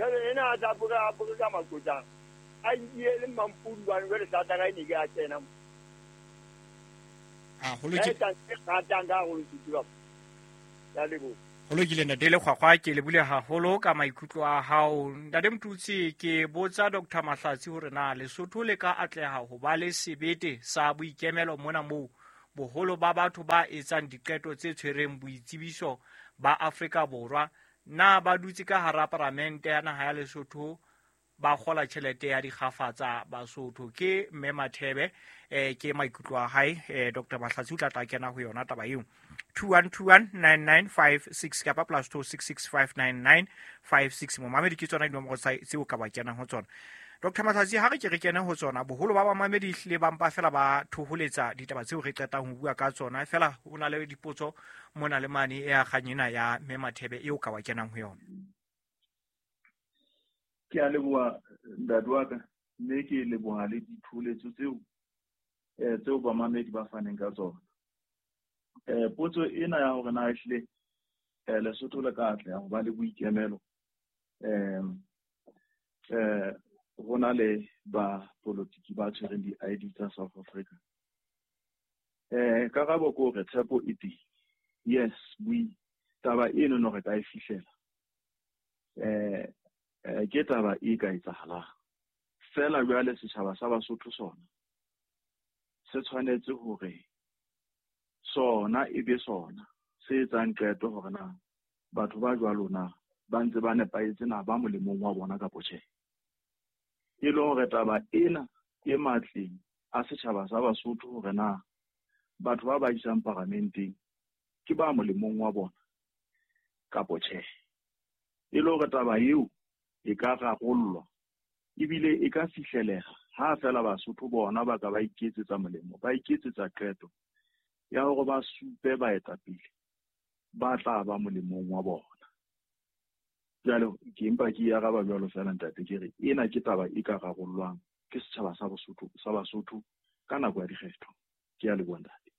Jwale ena a tla bore a bore ka maqotsana. A nkile le mampodi bane jwale sataka e ne ke a kena mo. Ah, ho lokile. Ka e ratang ka haholo Sotho Ya leboha. Ho lokile ntate Lekgwakgwa, ke lebule haholo ka maikutlo a hao. Ntate Motutsi, ke botsa Dr. Mahlatsi hore na Lesotho le ka atleha ho ba le sebete sa boikemelo mona moo boholo ba batho ba etsang diqeto tse tshwereng boitsebiso ba Afrika Borwa na ba dutse ka hara paramente ya naha ya Lesotho ba kgola tjhelete ya dikgafa tsa Basotho. Ke Mme Mathebe, ke maikutlo a hae. Dr. Mahlatsi o tla tla kena ho yona taba eo. 21219956 kapa plus 26659956. Momamedi ke tsona dinomoro tseo ka ba kenang ho tsona. Dr. Mahlatsi, ha re ke re kene ho tsona, boholo ba bamamedi ehlile ba mpa fela ba thoholetsa ditaba tseo re qetang ho bua ka tsona. Fela ho na le dipotso mona le mane e akgang ena ya Mme Mathebe eo ka wa kenang ho yona. Ke a leboha ntate wa ka, mme ke leboha le ditholetso tseo tseo bamamedi ba faneng ka tsona. Potso ena ya hore na ehlile Lesotho le ka atleha ho ba le boikemelo, ho na le ba politiki ba tshwereng di-ID tsa South Africa. Karabo ke hore tshepo e teng. Yes, taba eno no re ka e fihlela. Ke taba e ka etsahalang. Fela jwale setjhaba sa Basotho sona se tshwanetse hore sona e be sona se etsang qeto hore na batho ba jwalo na ba ntse ba nepahetse na ba molemong wa bona kapa tjhe. E le hore taba ena e matleng a setjhaba sa Basotho hore na batho ba ba isang paramenteng ke ba molemong wa bona kapa tjhe. E le hore taba eo e ka rarollwa ebile e ka fihleleha ha fela Basotho bona ba ka ba iketsetsa molemo, ba iketsetsa qeto ya hore ba supe baetapele ba tla ba molemong wa bona. Jwale ke mpa ke araba jwalo fela ntate, ke re ena ke taba e ka rarollwang ke setjhaba sa Bosotho, sa Basotho ka nako ya dikgetho. Ke a leboha ntate.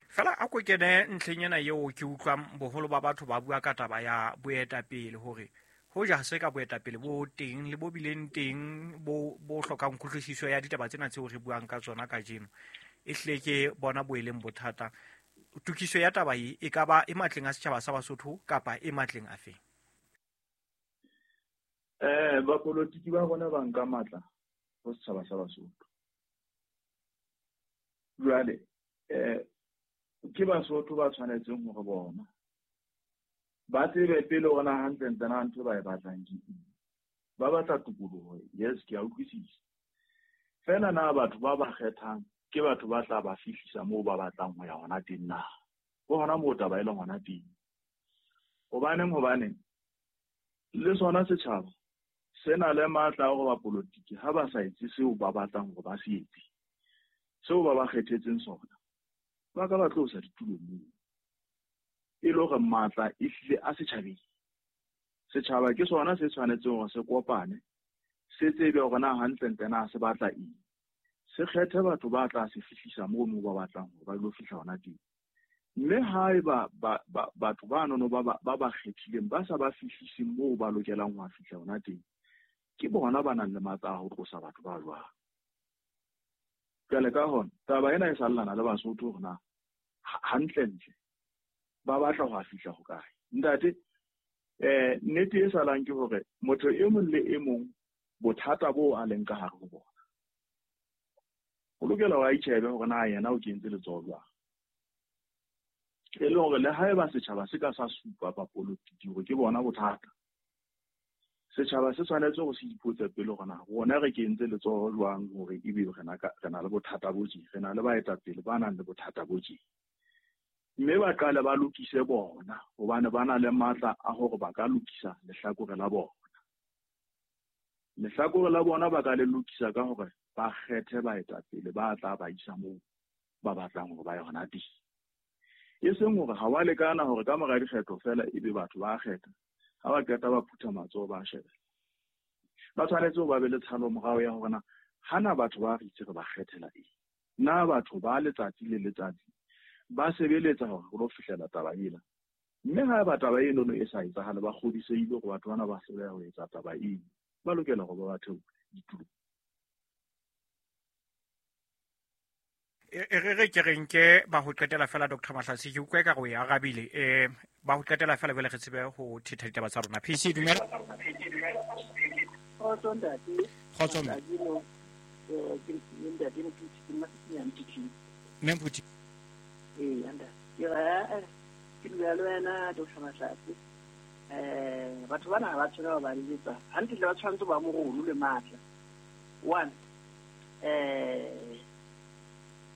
Fela a ko kene ntlheng ena eo ke utlwang boholo ba batho ba bua ka taba ya boetapele, hore hoja se ka boetapele bo teng le bo bileng teng bo hlokang kutlwisiso ya ditaba tsena tseo re buang ka tsona kajeno, e hlile ke bona bo e leng bothata. Tokiso ya taba e e ka ba e matleng a setjhaba sa Basotho kapa e matleng a feng? Bapolotiki ba rona ba nka matla ho setjhaba sa Basotho. Jwale ke Basotho ba tshwanetseng hore bona ba tsebe pele hore na hantlentle na ntho ba e batlang ke eng. Ba batla tokoloho, yes, ke a utlwisisa. Fela na batho ba ba kgethang ke batho ba tla ba fihlisa moo ba batlang ho ya hona teng na? Ke hona moo taba e leng hona teng. Hobaneng, hobaneng le sona setjhaba se na le matla a hore bapolotiki ha ba sa etse seo ba batlang hore ba se etse, seo ba ba kgethetseng sona, ba ka ba tlosa ditulong moo. E le hore matla e hlile a setjhabeng. Setjhaba ke sona se tshwanetseng hore se kopane, se tsebe hore na hantlentle na se batla eng. Se kgethe batho ba tla se fihlisa moo ba batlang hore ba ilo fihla hona teng. Mme haeba batho ba nono ba ba kgethileng ba sa ba fihlise moo ba lokelang ho fihla hona teng, ke bona ba nang le matla a ho tlosa batho ba jwalo. Jwale ka hona, taba ena e sallana le Basotho hore na hantlentle ba batla ho fihla hokae. Ntate, nnete e salang ke hore motho e mong le e mong bothata bo a leng ka hare ho bona, o lokela hore a itjhebe hore na yena o kentse letsoho jwang. E le hore le haeba setjhaba se ka sa supa bapolotiki hore ke bona bothata, setjhaba se tshwanetse hore se ipotse pele hore na rona re kentse letsoho jwang hore ebe re na le bothata bo tje, re na le baetapele ba nang le bothata bo tje. Mme ba qale ba lokise bona, hobane ba na le matla a hore ba ka lokisa lehlakore la bona. Lehlakore la bona ba ka le lokisa ka hore ba kgethe baetapele ba tla ba isa moo ba batlang hore ba ye hona teng. E seng hore ha wa lekana hore ka mora dikgetho fela ebe batho ba kgetha, ha ba qeta ba phutha matsoho ba shebella. Ba tshwanetse ho ba be le tshalo morao ya hore na hana batho ba re itse re ba kgethela eng. Na batho ba letsatsi le letsatsi ba sebeletsa hore re lo fihlela taba ena. Mme ha eba taba enono e sa etsahale, ba kgodisehile hore batho bana ba hloleha ho etsa taba eno, ba lokela hore ba ba theole ditulong. E re ke re nke ba ho qetela fela Dr. Mahlatsi, ke utlwa ekare o e arabile. Ba ho qetela fela jwale re tsebe ho thetha ditaba tsa rona. PC, dumela. Kgotso ntate. Kgotso mme. Ke ntate Mophuthi, ke Mma Mme Mophuthi. Ee, ntate. Ke re, ke dula le wena Dr. Mahlatsi. Batho bana ha ba tshwanela ho ba letsa. Hantle ba tshwanetse ba morolo le matla. One,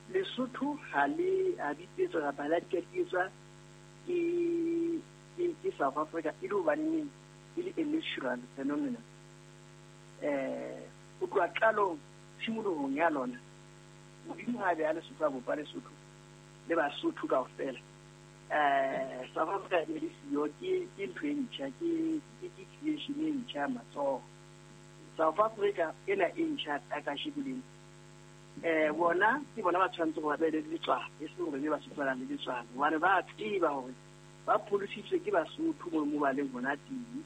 Lesotho ha le a bipetswa kapa ha le a dikadietswa ke South Africa e le hobaneng e le a natural phenomenon. Ho tloha qalong tshimolohong ya lona, Modimo ha a beha Lesotho a bopa Lesotho le Basotho kaofela. South Africa e le siyo ke ntho e ntjha, ke creation e ntjha ya matsoho. South Africa ena e ntjha ya kasheko lena. Bona ke bona ba tshwanetse hore ba be le letswalo, e seng hore be Basotho ba nang le letswalo, hobane ba tseba hore ba pholositswe ke Basotho mo ba leng hona teng.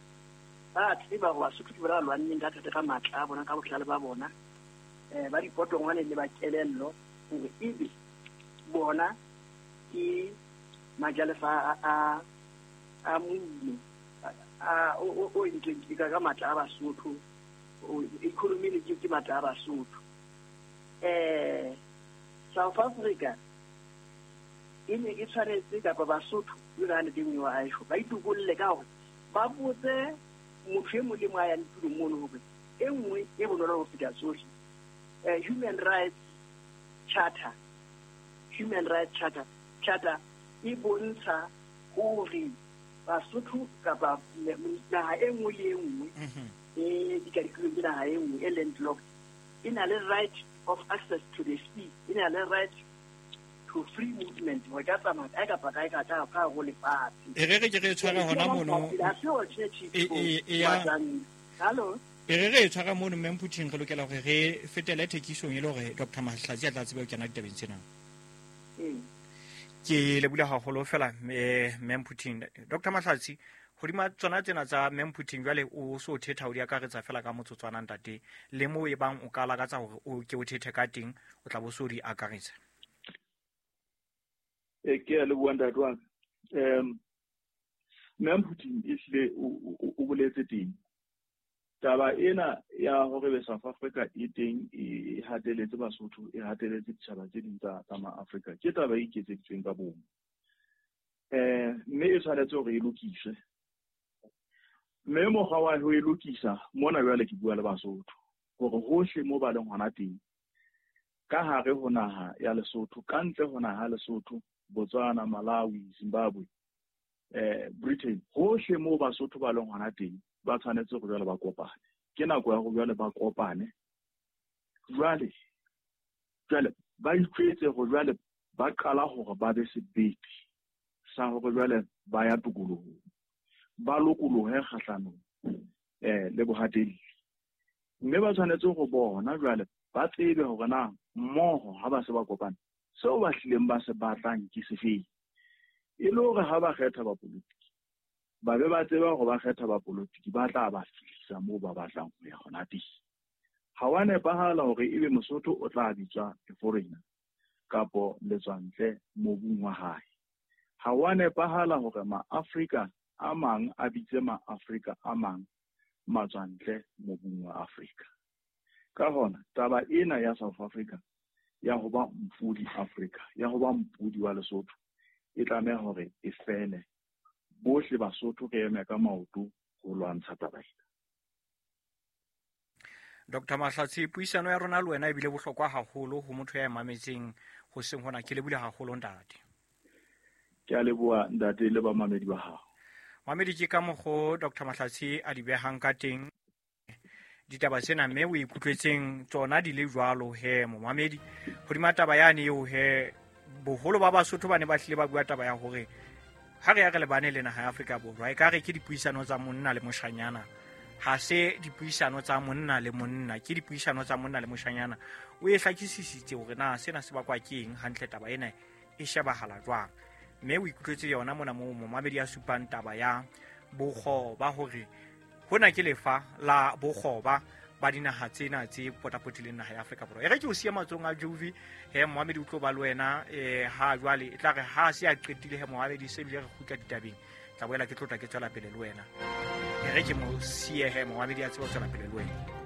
Ba tseba hore Basotho ke bona ba lwanneng ka thata ka matla a bona, ka bohlale ba bona, ba dipotongwane le ba kelello, hore ebe bona ke majalefa a mono, a o entsweng ke ka matla a Basotho, economy le ke matla a Basotho. South Africa e ne e tshwanetse kapa Basotho le ka nete nngwe wa aesho ba itokolle ka hore ba botse motho e mong le mong a yang tulong mono hore e nngwe e bonolo ho feta tsohle. Human Rights Charter, Human Rights Charter, Charter e bontsha hore Basotho kapa naha e nngwe le e nngwe e dikadikilweng ke naha e nngwe e landlocked e na le right of access to the sea, e na le right to free movement, hore ka tsamaya kae kapa kae ka ka ka ho lefatshe. E re re ke re tshware hona mono. Hello. E re re tshwara mono Mme Mphuthing, re lokela hore re fetele thekisong e le hore Dr. Mahlatsi a tla tsebe ho kena ditabeng tsena. Ke lebohile haholo fela Mme Mphuthing. Dr. Mahlatsi, hodima tsona tsena tsa Mme Mphuthing jwale o so thetha o di akaretsa fela ka motsotswana ntate, le moo e bang o ka lakatsa hore o ke o thethe ka teng, o tla bo so di akaretsa. Ke a leboha ntate wa ka. Mme Mphuthing ehlile o boletse teng. Taba ena ya hore be South Africa e teng e hateletse Basotho, e hateletse ditjhaba tse ding tsa Ma-Afrika, ke taba e iketseditsweng ka bomo. Mme e tshwanetse hore e lokiswe. Mme mokgwa wa ho e lokisa mona jwale ke bua le Basotho hore hohle mo ba leng hona teng, ka hare ho naha ya Lesotho, ka ntle ho naha ya Lesotho, Botswana, Malawi, Zimbabwe, Britain, hohle mo Basotho ba leng hona teng, ba tshwanetse hore jwale ba kopane. Ke nako ya hore jwale ba kopane. Jwale ba itjwetse hore jwale ba qala hore ba be sebete sa hore jwale ba ya tokolohong, ba lokolohe kgahlanong le bohatelli. Mme ba tshwanetse ho bona jwale ba tsebe hore na mmoho ha ba se ba kopane, seo ba hlileng ba se batlang ke sefeng. E le hore ha ba kgetha bapolitiki, ba be ba tseba hore ba kgetha bapolitiki ba tla ba fihlisa moo ba batlang ho ya hona teng. Ha wa nepahala hore ebe Mosotho o tla bitswa foreigner kapo letswantle mobung wa hae. Ha wa nepahala hore Ma-Afrika a mang a bitse Ma-Afrika a mang matswantle mobung wa Afrika. Ka hona, taba ena ya South Africa ya ho ba mpudi Afrika, ya ho ba mpudi wa Lesotho, e tlameha hore e fele. Bohle Basotho re eme ka maoto ho lwantsha taba ena. Dr. Mahlatsi, puisano ya rona le wena ebile bohlokwa haholo ho motho ya mametseng hoseng hona. Ke lebohile haholo ntate. Ke a leboha ntate le bamamedi ba hao. Mamedi ke ka mokgo Dr. Mahlatsi a di behang ka teng ditaba tsena, mme o ikutlwetseng tsona di le jwalo he momamedi. Hodima taba yane eo he, boholo ba Basotho ba ne ba hlile ba bua taba ya hore ha re ya re lebane le naha ya Afrika Borwa, e ka re ke dipuisano tsa monna le moshanyana, ha se dipuisano tsa monna le monna, ke dipuisano tsa monna le moshanyana. O e hlakisisitse hore na sena se bakwa ke eng hantle, taba ena e shebahala jwang. Mme o ikutlwetse yona mona moo momamedi a supang taba ya bokgoba hore hona ke lefa la bokgoba ba dinaha tsena tse potapotileng naha ya Afrika Borwa. E re ke o siya matsohong a Jovi, he momamedi o tlo ba le wena ha jwale e tla re ha se a qetile he momamedi se bile re kgutla ditabeng, tla boela ke tlotla ke tswela pele le wena. E re ke mo siye he momamedi a tsebe ho tswela pele le wena.